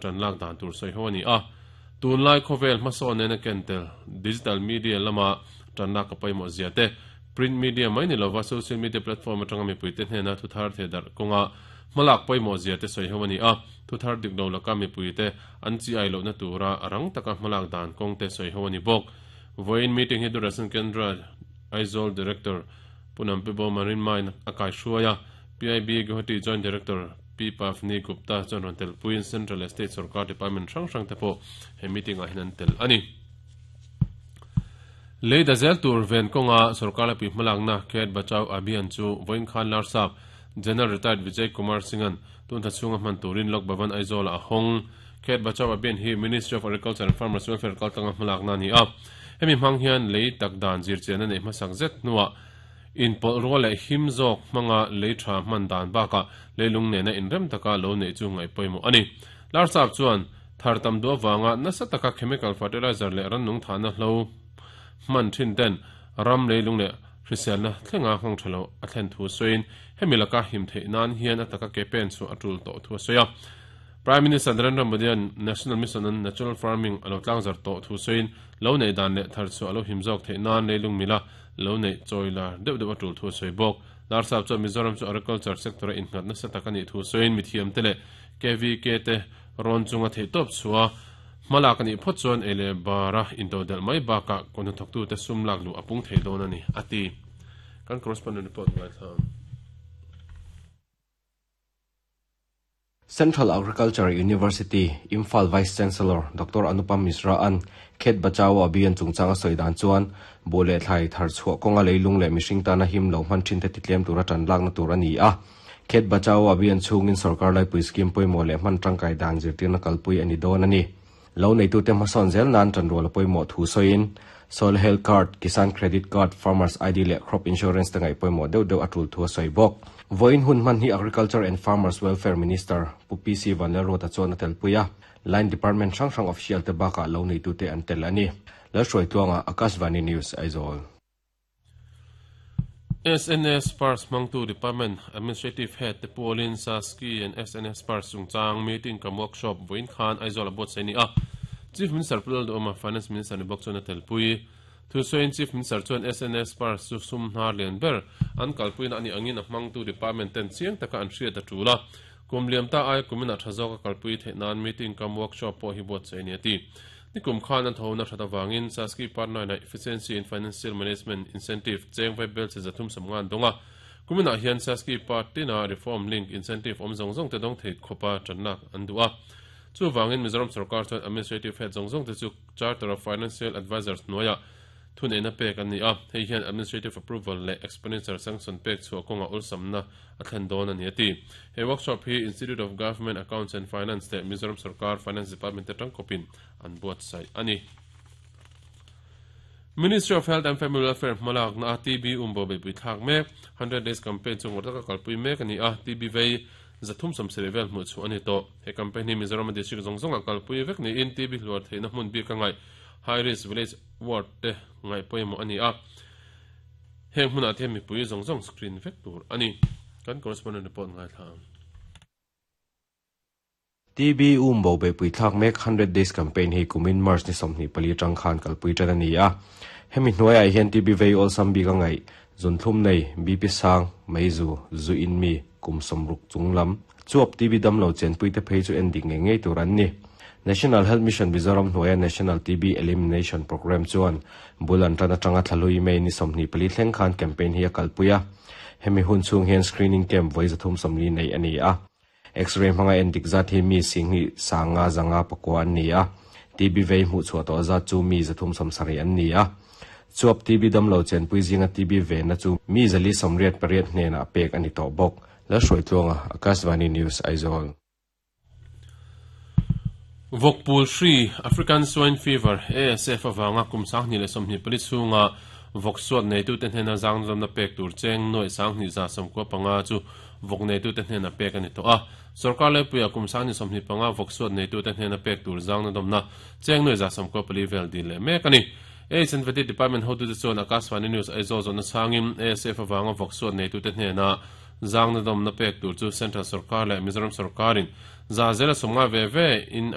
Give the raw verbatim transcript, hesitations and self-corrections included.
Tan lak dan tur soi ho ani a. Tun lai khovel hmasawn nena kentel digital media lama tan lak ka pawimawh zia te, print media mai ni lova social media platform atanga mipuite hnena thu thar the darh kawnga hmalak pawimawh zia te sawi ho ani a. Thu thar dik lo laka mipuite an chi ai lohna tura a rang taka hmalak dan kawng te sawi ho ani bawk. Vawiin meeting hi Doordarshan Kendra Aizawl Director Punam Pibo Marin Main a kai hruai a. P I B Guwahati Joint Director P Pavni Gupta chuan rawn tel puiin Central leh State Sarkar Department hrang hrang te pawh he meeting ah hian an tel a ni. Lei da zel tur ven kawnga sarkar laipui hmalakna Khet Bachao Abhiyan chu vawiin khan Larsap General Retired Vijay Kumar Singh-a'n tun tha chhunga hman turin Lok Bhavan Aizawl-ah a hawng. Khet Bachao Abhiyan hi Ministry of Agriculture and Farmers Welfare kaltlanga hmalakna a ni a. Hemi hmang hian lei tak dan zirchianna neih hmasak zet hnuah inpawlh rual leh him zawk hmanga lei tha hman dan bakah leilung nena inrem taka lo neih chu ngaih pawimawh a ni. Larsap chuan thar tam duh avanga nasa taka chemical fertilizer leh rannung thahna hlo hman thin ten ram leilung leh hriselna thlenga nghawng tha lo a thlen thu sawiin hemi laka him theih nan hian a taka ke pen chu a tul tawh thu a sawi a. Prime Minister Narendra Modi-a'n National Mission on Natural Farming a lo tlangzar tawh thu sawiin lo neih dan leh thar chhuah a lo him zawk theih nan leilung mila lo neih chawi lar deuh deuh a tul thu a sawi bawk. Larsap chuan Mizoram chu agriculture sector-a innghat nasa tak a nih thu sawiin mithiamte leh K V K te rawn chunga theihtawp chhuah hmalak a nih phawt chuan ei leh bara intodelh mai bakah kawhna thawktute sum lak luh a pung thei dawn a ni, a ti. Kan correspondent report ngaithla ang. Central Agriculture University, Imphal Vice Chancellor Doctor Anupam Mishra an Khet Bachao Abhiyan chungchanga sawi dan chuan buh leh thlai thar chhuah kawnga leilung leh mihring tana him lo hman thin te titlem tura tan lakna tur a ni a. Khet Bachao Abhiyan chhungin sarkar laipui scheme pawimawh leh hman tangkai dan zirtirna kalpui a ni dawn a ni. Lo neitute hmasawn zel nan tanrual a pawimawh thu sawiin Soil Health Card, Kisan Credit Card, Farmers I D leh Crop Insurance te ngaih pawimawh deuh deuh a tul thu a sawi bawk. Vawiin hun hman hi Agriculture and Farmers Welfare Minister Pu P C Vanlalruata chuan a telpui a. Line Department hrang hrang official te bakah lo neitute an tel a ni. Lalhruaitluanga, Akashvani News, Aizawl. S N S Pars hmangtu Department Administrative Head te pawlin Saski and S N S Pars chungchang meeting kam workshop vawiin khan Aizawl a buatsaih a ni a. Chief Minister Pu Lalduhawma, Finance Minister ni bawk chuan a telpui. Thusawiin Chief Minister chuan S N S Pars chu sum hnar lian ber an kalpuina a nih angin a hmangtu department ten chiang taka an hriat a tul a. Kum liam ta aia kumin a tha zawk a kalpui theih nan meeting kam workshop pawh hi buatsaih a ni a ti. Nikum khan an thawhna that avangin Saski Part nine-ah Efficiency in Financial Management Incentive cheng vai bel che zathum samnga an dawng a. Kuminah hian Saski Part tina Reform Link Incentive awm zawng zawng te dawng thei khawpa tanlak an duh a. Chuvangin Mizoram sarkar chuan Administrative Head zawng zawng te chu Charter of Financial Advisers hnuaiah thuneihna pek an ni a. Hei hian Administrative Approval leh Expenditure Sanction pek chhuah kawnga ulsamna a thlen dawn a ni a ti. He workshop hi Institute of Government Accounts and Finance leh Mizoram sarkar Finance Department te tangkawpin an buatsaih a ni. Ministry of Health and Family Welfare hmalakna a T B umbo beipui thlak mek hundred days campaign chu ngawr taka kalpui mek a ni a. T B vei zathum sawmsarih vel hmuh chhuah a ni tawh. He campaign hi Mizoram district zawng zawngah kalpui vek niin T B hluar theihna hmun bik a ngaih high risk village ward te ngaih pawimawh a ni a. Heng hmunah te hian mipui zawng zawng screen vek tur a ni. Kan correspondent report ngaithla ang. T B umbo beipui thlak mek hundred days campaign hi kumin March ni sawmhnih pali atang khan kalpui tan a ni a. Hemi hnuaiah hian T B vei awlsam bik a ngaih zunthlum nei B P sang meizu zu in mi kum sawmruk chung lam chuap T B damlo chenpui te phei chu en dik ngei ngei tur an ni. National Health Mission Mizoram hnuaia National T B Elimination Program chuan bul an tan atanga thlalui mai ni sawmhnih pali thleng khan campaign hi a kalpui a. Hemi hun chhung hian screening camp vawi zathum sawmli nei a ni a. X-ray hmanga en dik zat hi mi singhi sanga zanga pakua an ni a. T B vei hmuh chhuah tawh zat chu mi zathum sawmsarih an ni a. Chuap T B damlo chenpui zinga T B ve na chu mi zali sawmriat pariat hnenah pek a ni tawh bawk. Lalhruaitluanga, Akashvani News, Aizawl. Vawkpul hri, African Swine Fever, A S F avanga kum sanghnih leh sawmhnih pali chhunga vawk suat neitute hnena zangdawmna pek tur cheng nuaih sanghnih za sawmkua panga chu vawk neitute hnena pek a ni tawh a. Sarkar laipuia kum sanghnih sawmhnih panga vawk suat neitute hnena pek tur zangdawmna cheng nuaih za sawmkua pali vel dil leh mek a ni. H and V T Department hotute chuan Akashvani News Aizawl zawhna changin A S F avanga vawk suat neitute hnena Zang na dom na pek tur chu Central Sarkar leh Mizoram Sarkarin za zela sawmnga ve ve in.